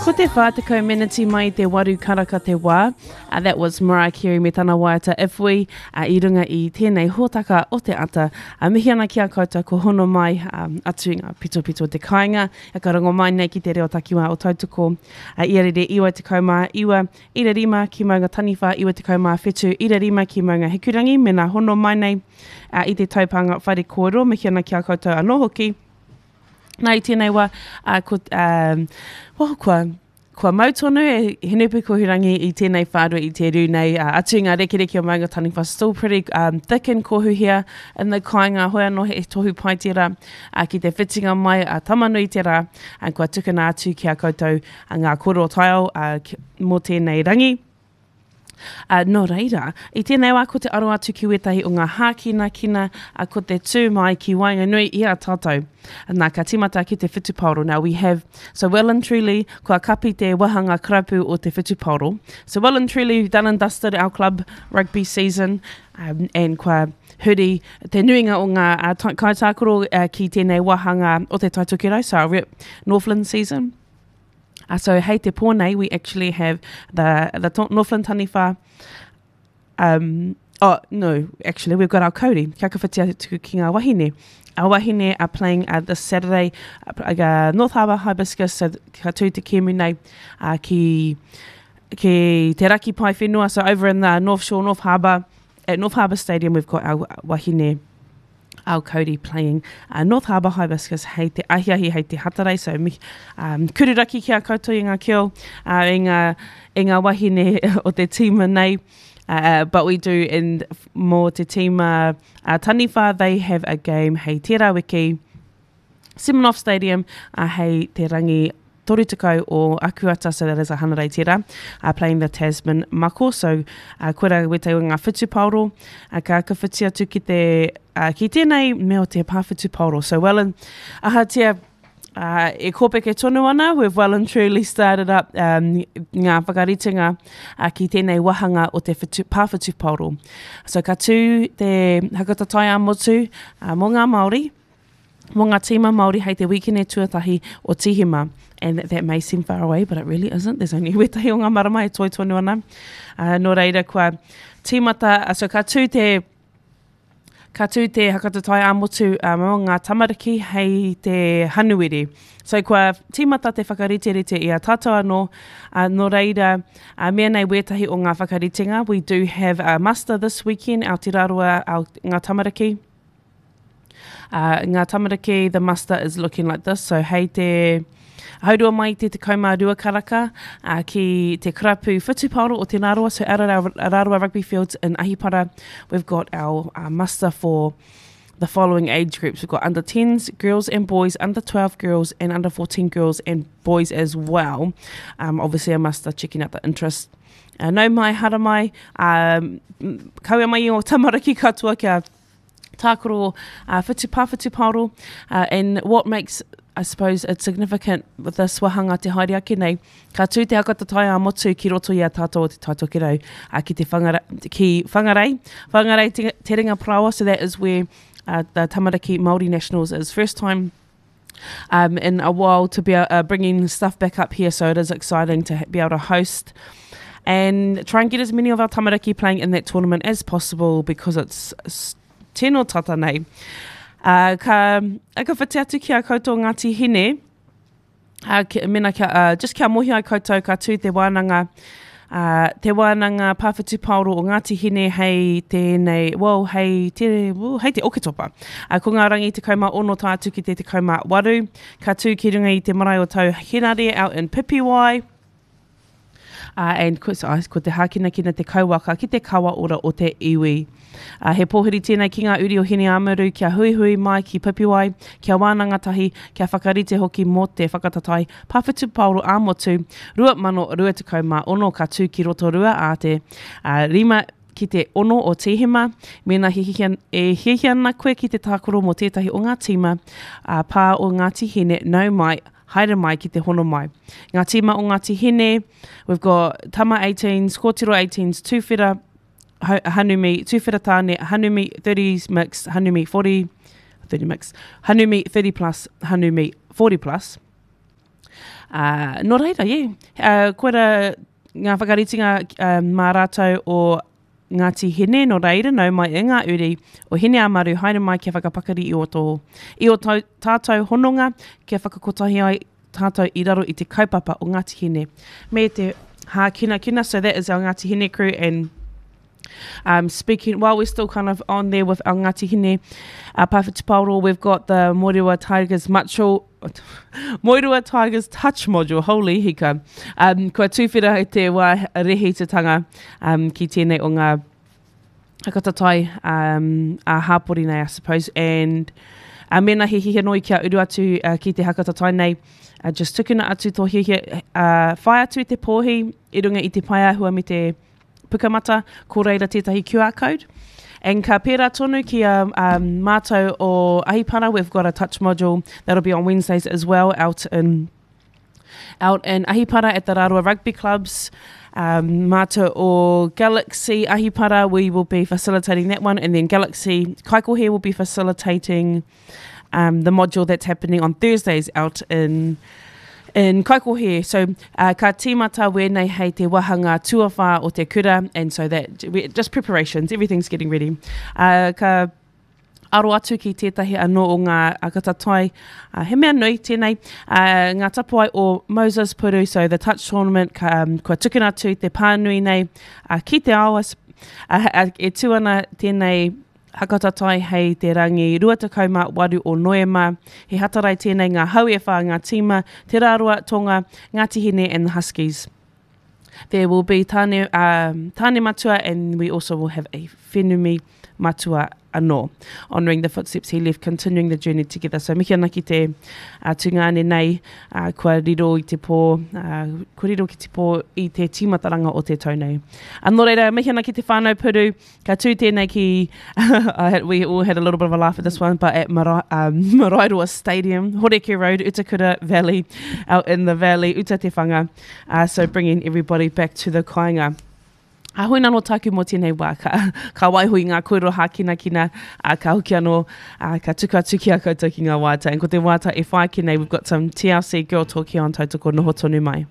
Ko te 40 meneti mai i te waru karaka te wā. Uh, that was Mariah Carey me tana waiata If We uh, i runga i tēnei hōtaka o te ata. Uh, mihi ana ki a koutou ko hono mai um, atu i ngā pitopito o te kāinga. E ka rongo mai nei ki te reo takiwā o Tautoko. Uh, ia rere 99, ira rima ki Maunga Taniwha, 97, ira rima ki Maunga Hikurangi. Mena hono mai nei uh, i te taupānga whare kōrero. Mihi ana ki a koutou anō hoki. Nā, i tēnei wā, uh, ko, um, well, kua, kua mau tonu e Hinepukohurangi i tēnei whārua i te rū nei. Uh, atu i ngā rekereke o Maunga Taniwha, still pretty um, thick and kohu here in the kāinga, hoi anō he tohu pai tērā uh, ki te whitinga mai a uh, Tamanui te rā, uh, kua tukuna atu ki a koutou uh, ngā kōrero taiao uh, ki, mō tēnei rangi. Ā, nō reira, i tēnei wā ko te aro atu ki wētahi o ngā hākinakina, ā, ko te tū mai ki waenganui i a tātou. Nā, ka tīmata ki te whutupaoro. Now we have, so well and truly, kua kapi te wāhanga karapu o te whutupaoro. So well and truly done and dusted our club rugby season, um, and kua huri te nuinga o ngā uh, kaitākaro uh, ki tēnei wāhanga o te Taitokerau, so our rep Northland season. Uh, so hei te pō nei, we actually have the, the Northland Taniwha, um, oh, no, actually, we've got our kauri. Kia ka whiti atu ki ngā wahine. Our wahine are playing uh, this Saturday, uh, uh, North Harbour Hibiscus, so ka tū te kēmu nei uh, ki, ki te raki pae whenua, so over in the North Shore, North Harbour, at North Harbour Stadium, we've got our wahine Our Kauri playing uh, North Harbour Hibiscus hei te ahiahi, hei te hatarei. So, mi, um, kururaki ki a koutou i ngā keo, uh, i, ngā, i ngā wahine o te tīma nei. Uh, but we do, and mō te tīma uh, Taniwha, they have a game hei tērā wiki. Semenoff Stadium, uh, hei te rangi 30 o Akuata, so that is a Hanarei tērā, uh, playing the Tasman Mako, so uh, koira wētahi o ngā whutupaoro, uh, ka ka whiti atu ki te, uh, ki tēnei mea o te pā whutupaoro. So well and, ahatia, uh, e kōpeke tonu ana, we've well and truly started up um, ngā whakaritenga uh, ki tēnei wahanga o te whutu, pā whutupaoro. So ka tū te hakatatai ā-motu uh, mō ngā Māori, mō ngā tīma Māori hei te wīkene tuatahi o Tīhema. And that may seem far away, but it really isn't. There's only wētahi o ngā marama e toi tonu ana. Uh, nō reira, kua tīmata, uh, so ka tū te, ka tū te hakatatai ā-motu uh, mō ngā tamariki hei te Hanuere. So kua tīmata te whakariterite i a tātou anō, uh, nō reira, uh, mea nei wētahi o ngā whakaritenga. We do have a muster this weekend, Aotearoa, our, ngā tamariki. Uh, ngā tamariki, the muster is looking like this. So hei te haurua mai te 12 karaka uh, ki te karapu whutupaoro o Te Rāroa. So out at our Rāroa Rugby Fields in Ahipara, we've got our uh, muster for the following age groups. We've got under 10s, girls and boys, under 12 girls, and under 14 girls and boys as well. Um, obviously, a muster checking out the interest. Uh, nau mai, hara mai, um, kaua mai i o tamariki katoa kia tākaro uh, whitu pā whitu paoro uh, and what makes I suppose it's significant with this wahanga te haere ake nei, ka tū te haka tatai a motu ki roto i a tātou o te Taitokerau, uh, ki te whangara, ki Whangarei, Whangarei te, te ringa paraoa, so that is where uh, the Tamariki Māori Nationals is first time um, in a while to be uh, bringing stuff back up here, so it is exciting to be able to host and try and get as many of our tamariki playing in that tournament as possible because it's tino tata nei. Uh, ka, ka whiti atu ki a koutou Ngāti Hine, uh, ki, mena kia, uh, just kia mohi ai koutou ka tū te wānanga, uh, te wānanga pāwhitu paoro o Ngāti Hine hei tēnei, well, hei te, well, hei te Oketopa. Uh, ko ngā rangi 16 tae atu ki te 18, ka tū ki runga i te marae o Tau Henare out in Pipiwai. Uh, and ko, so, ko te hākinakina te kauwaka ki te kawa ora o te iwi. Uh, he pōhiri tēnei ki ngā uri o Hineāmaru kia huihui mai ki Pipiwai, kia wānanga tahi, kia whakarite hoki mō te whakatatai pāwhitu paoro ā-motu 2026 ka tū ki Rotorua ā te uh, 5 ki te 6 o Tīhema. Mēnā hiahia, e hiahia ana koe ki te tākaro mō tētahi o ngā tīma uh, pā o Ngāti Hine, nau mai, haere mai ki te hono mai. Ngā tīma o Ngāti Hine, we've got Tama 18s, Kōtiro 18s, Tūwhera Hanumi, Tūwhera Tāne, Hanumi 30s mix, Hanumi 40, 30 mix, Hanumi 30 plus, Hanumi 40 plus. Uh, nō reira, yeah. Uh, koira ngā whakaritinga uh, mā rātou o Ngāti Hine, nō reira, nau mai e ngā uri o Hineāmaru, haere mai kia whakapakari i o tō, i o tau, tātou hononga, kia whakakotahi ai tātou i raro i te kaupapa o Ngāti Hine. Me te hākinakina, so that is our Ngāti Hine crew and Um, speaking, while we're still kind of on there with our Ngāti Hine uh, Pāwhitipaoro, we've got the Moerewa Tigers Macho, Moerewa Tigers Touch Module, holy hika. Um, kua tūwhera i te wā rehitatanga um, ki tēnei o ngā hakatatai um, a hāpori nei, I suppose, and uh, mēnā he hihia noi kia uru atu uh, ki te hakatatai nei, uh, just tukuna atu tō hiahia, uh, whai atu i te pōhi i runga i te paeāhua me te Pukamata, ko reira tētahi QR code. And ka pērā tonu ki a um, mātou o Ahipara, we've got a touch module that'll be on Wednesdays as well out in out in Ahipara at the Rārua Rugby Clubs. Um, mātou o Galaxy Ahipara, we will be facilitating that one. And then Galaxy Kaikohe will be facilitating um, the module that's happening on Thursdays out in in Kaikohe. So uh, ka tīmata wēnei hei te wahanga tuawhā o te kura, and so that we, just preparations, everything's getting ready. Uh, ka aro atu ki tētahi anō o ngā akatatai. Uh, he mea nui tēnei, uh, ngā tapuai o Moses Puru, so the touch tournament, ka, um, kua tukuna atu te pānui nei uh, ki te ao, uh, uh, e tū ana tēnei Hakatatai hei te rangi 28 o Noema. He Hatarai tēnei ngā hau e whā ngā tīma, Te Rāroa, Tonga, Ngāti Hine and the Huskies. There will be Tāne, um, Tāne Matua and we also will have a Whenumi Matua anō. Honouring the footsteps he left, continuing the journey together. So mihi ana ki te uh, tungāne nei, uh, kua riro i te pō, uh, kua riro ki te pō i te tīmataranga o te tau nei. Uh, nō reira, mihi ana ki te whānau puru, Ka tū tēnei ki, I had, we all had a little bit of a laugh at this one, but at Mara, um, Maraeroa Stadium, Horeke Road, Utakura Valley, out in the valley, Uta Te Whanga. Uh, so bringing everybody back to the kāinga. A hoi nano tāku mō tēnei wā, ka, ka waiho i ngā kōrero hākinakina, a ka hoki anō, a, ka tuku atu ki a koutou ki ngā wāta. And ko te wāta e whai ake nei, we've got some TLC Girl Talk here on Tautoko Noho Tonu Mai.